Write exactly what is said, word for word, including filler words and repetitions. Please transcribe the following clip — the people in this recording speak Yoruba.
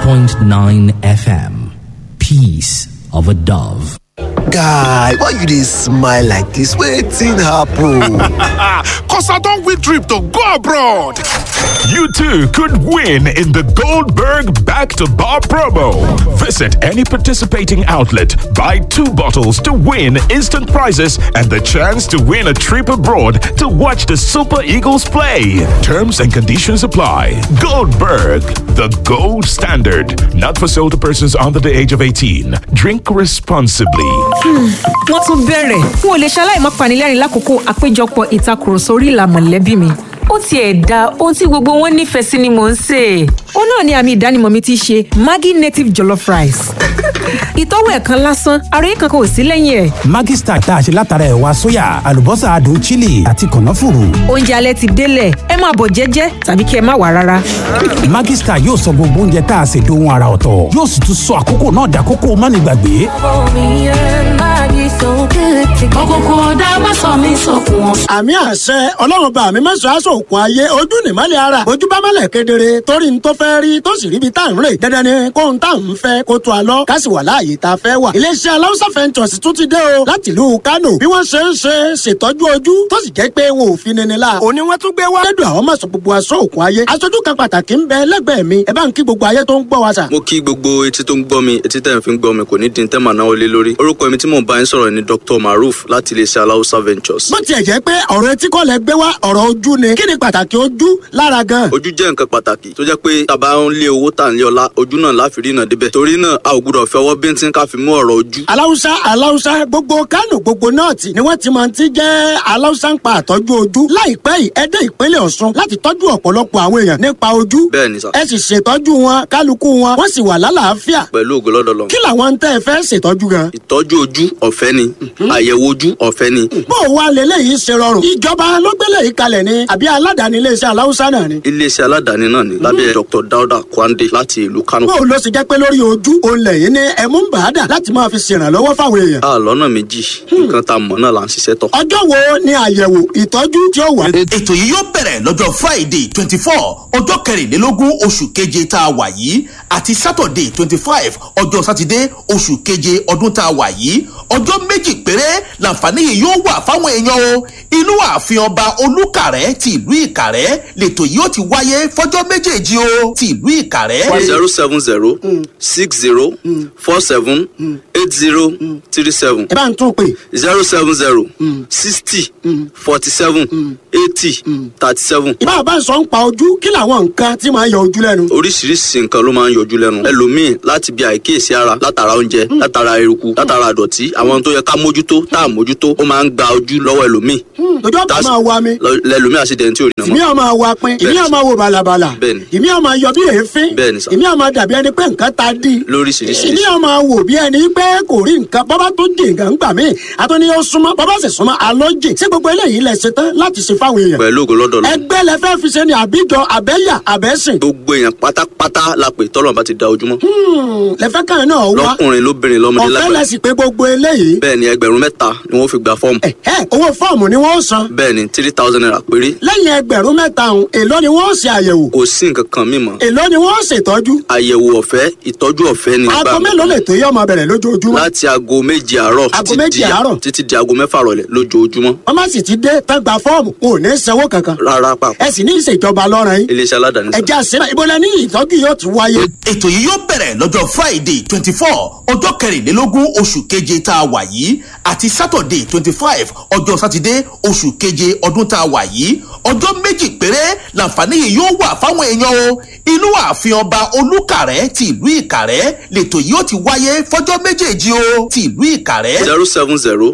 point nine F M. Peace of a Dove. Guy, why you dey smile like dis? Wetin happen? 'Cause I don win trip to go abroad. You too could win in the Goldberg Back to Bar promo. Visit any participating outlet, buy two bottles to win instant prizes and the chance to win a trip abroad to watch the Super Eagles play. Terms and conditions apply. Goldberg, the gold standard. Not for sale to persons under the age of eighteen. Drink responsibly. Wọ́n tún bẹ̀rẹ̀. N ò lè ṣaláì má panilẹ́rìn lákòókò àpéjọpọ̀ ìtakùrọ̀sọ orí ìlà mọ̀lẹ́bí mi. Ó tiẹ̀ da ohun tí gbogbo wọn nífẹ̀ẹ́ sí ni mò ń sè é. Ó náà ni àmì ìdánimọ̀ mi ti ṣe Maggi native jollof rice. Ìtọ́wò ẹ̀kan lásán, àròyé kankan ò sí lẹ́yìn ẹ̀. Maggi Star tá a ṣe látara ẹ̀wà sóyà, àlùbọ́sà adùn chili àti kànáfùrù. Oúnjẹ alẹ́ ti délẹ̀, ẹ máa bọ̀ jẹ́jẹ́ tàbí kí ẹ má wà rárá. Maggi Star yóò sọ gbogbo oúnjẹ tá a ṣe dohun ara ọ̀tọ̀, yóò sì tún sọ àkókò náà dàkókò mánigbàgbé. Òkùnkùn ọ̀dà má sọ mí sókun ọ̀. Àmì àṣẹ Ọlọ́run bá mi mẹ́sàn-án aṣọ òkun ayé ojú nìmọ́lẹ̀ ara ojú bá mọ́lẹ̀ kedere torí n tó fẹ́ rí tó sì ríbi tá à ń rè dandan ni kóhun tá à ń fẹ́ kó tó a lọ ká sì wà láàyè tá a fẹ́ wà. Iléeṣẹ́ Aláùsá Ventures tún ti dé o láti ìlú Kánò, bí wọ́n ṣe ń ṣe ṣètọ́jú ojú tó sì jẹ́ pé wọn ò fi nini la òní wọ́n tún gbé wá. Lẹ́dùn àwọn mọ̀sán gbogbo aṣọ òkun ayé aṣojú kan pàtàkì ń bẹ lẹ́gbẹ̀ẹ́ mi, ẹ bá ń kí gbogbo ayé tó ń gbọ́ wa sà. Mo kí gbogbo etí tó ń gbọ́ mi, etí tẹ̀ ń fi ń gbọ́ mi kò ní di tẹ́ màá náwó lé lórí. Orúkọ mi tí mò ń bá yín sọ̀rọ̀ ni Doctor Maruf láti iléeṣẹ́ Aláùsá Ventures. Bó tiẹ̀ jẹ́ pé ọ̀rọ̀ etí kọ́ lẹ gbé wá, ọ̀rọ̀ ojú ni, kí ni pàtàkì ojú lára gan? Ojú jẹ́ nǹkan pàtàkì tó jẹ́ pé tàbá ń lé owó tà ń lé ọlá, ojú náà láfi rí náà débẹ̀. Torí náà a ò gbúdọ̀ fi ọwọ́ bíntín ká fi mú ọ̀rọ̀ ojú. Aláwùsá, Aláwùsá, gbogbo Kánò, gbogbo nọ́ọ̀tì ni wọ́n ti máa ti jẹ́ Aláwùsá ń pa àtọ́jú ojú. Láìpẹ́ yìí ẹ dé ìpínlẹ̀ Ọ̀ṣun láti tọ́jú ọ̀pọ̀lọpọ̀ àwọn èèyàn nípa ojú. Bẹ́ẹ̀ ni sà. Ẹ sì ṣètọ́jú wọn, kálukú wọn wọ́n sì wà lálàáfíà. Pẹ̀lú ògo lọ́dọ̀ Ọlọ́run. Kí làwọn ń tẹ́ ẹ fẹ́ ṣètọ́jú gan? Ìtọ́jú ojú ọ̀fẹ́ ni, àyẹ̀wò ojú ọ̀fẹ́ ni. Bó o wá leléyìí ṣe rọrùn? Ìjọba ló gbélé yìí kalẹ̀ ni àbí aládàáni iléeṣẹ́ Aláwùsá náà ni? Iléeṣẹ́ aládàáni náà ni lábẹ́ Doctor Dauda Kwande láti ìlú Kano. Bó o lọ sì jẹ́ pé lórí ojú òun lẹ́yìn ní ẹ̀mú ń bà á dà láti máa fi ṣèrànlọ́wọ́ fáwọn èèyàn? A lọ́nà méjì, nǹkan tá a mọ̀ náà là ń ṣiṣẹ́ tọ̀. Ọjọ́ wo ni àyẹ̀wò ìtọ́jú tí ó wà? Ètò yìí yóò bẹ̀rẹ̀ lọ́jọ́ Friday twenty four, ọjọ́ kẹrìnlélógún oṣù keje tá a wà yìí, àti Saturday twenty five, ọjọ́ sátidé, oṣù keje ọdún tá a wà yìí. Ọjọ́ méjì péré làǹfààní yìí yóò wà fáwọn èèyàn o. Inú ààfin Ọba Olúkàrẹ́ ti ìlú Ìkàrẹ́ lètò yìí ó ti wáyé fọjọ́ méjèèjì o, ti ìlú Ìkàrẹ́. Zero seven zero six zero four seven eight zero three seven. Ẹ bá ń tún pè. Zero seven zero sixty forty seven eighty thirty seven. Ìbá bá ń sọ ń pa ojú, kí làwọn nǹkan tí máa ń yọ ojú lẹ́nu? Oríṣiríṣi nǹkan ló máa ń yọjú lẹ́nu. Ẹlòmíì láti bí àìkíyèsí ara, látara oúnjẹ, látara eruku, látara àdọ̀tí, àwọn ohun tó yẹ ká mójútó tá à mójútó, ó máa ń gba ojú lọ́wọ́ ẹlòmíì. Ojú ọ̀pá máa wa mi. Lẹ́lòmíì àṣìdẹ̀ntì ò rí Ìmí náà mọ́. ọ̀ máa wa pin, ìmí ọ̀ máa wo bàlàbàlà. Bẹ́ẹ̀ni. Ìmí ọ̀ máa yọ bí èéfín. Bẹ́ẹ̀ni sà. Ìmí ọ̀ máa dàbí ẹni pé nǹkan ta dí. Lóríṣiríṣi. Ìmí ọ̀ máa wò bí ẹni pé kò rí nǹkan, bọ́bá tó jì nǹkan gbà mí àtúní ó súnmọ́, bọ́bá sì súnmọ́ alọ́ jì sí. Gbogbo eléyìí lẹ ṣe tán láti ṣe fáwọn èèyàn? Pẹ̀lú ògo lọ́dọ̀ Ọlọ́run. Ẹgbẹ́ lẹ fẹ́ fi ṣe ni àbíjọ àbẹ́yà àbẹ́sìn? Gbogbo èèyàn pátápátá la pè tọ́lọ̀ bá ti da ojúmọ́. Lẹ fẹ́ kàn náà wá. Lọ́kùnrin, lóbìnrin, lọ́mọdé, Ọ̀fẹ́ lágbàá. lẹ sì pé gbogbo eléyìí? Bẹ́ẹ̀ ni, ẹgbẹ̀rún mẹ́ta ni wọ́n fi gba fọ́ọ̀mù. Ẹ owó fọ́ọ̀mù ni wọ́n san? Bẹ́ẹ̀ ni, three thousand naira péré. Lẹ́yìn ẹgbẹ̀rún mẹ́ta ọ̀hún, èló ni wọ́n ṣe àyẹ̀wò? Kò sí nǹkan kan mímọ́. Èló ni wọ́n ṣètọ́jú? Àyẹ̀wò ọ̀fẹ́, ìtọ́jú ọ̀fẹ́ ni. Aago mélòó lè tó yẹ ọmọ bẹ̀rẹ̀ lójoojúmọ́? Láti aago méje àárọ̀ Aago títí méje di- àárọ̀. títí di aago mẹ́fà rọ̀lẹ́ lójoojúmọ́. Wọ́n má sì ti dé tán gba fọ́ọ̀mù, wọn ò ní sanwó kankan? Rárá pàpà. Ẹ sì ní ìṣèjọba lọ́rùn yín. Iléeṣẹ́ aládàáni sà. Ẹ̀jẹ̀ àṣẹ ìbọlẹ̀ ní ìtọ́jú yóò ti wáyé. Ètò yìí yóò bẹ̀rẹ̀ lọ́jọ́ Friday twenty four, ọjọ́ kẹrìnlélógún oṣù keje tá a wà yìí, àti Saturday twenty five, ọjọ́ sátidé, oṣù keje ọdún tá a wà yìí. Ọjọ́ méjì péré làǹfààní yìí yóò wà fáwọn èèyàn o. Inú ààfin Ọba Olúkàrẹ́ ti ìlú Ìkàrẹ́ lètò yìí ó ti wáyé fọjọ́ méjèèjì o, ti ìlú Ìkàrẹ́. Zero seven zero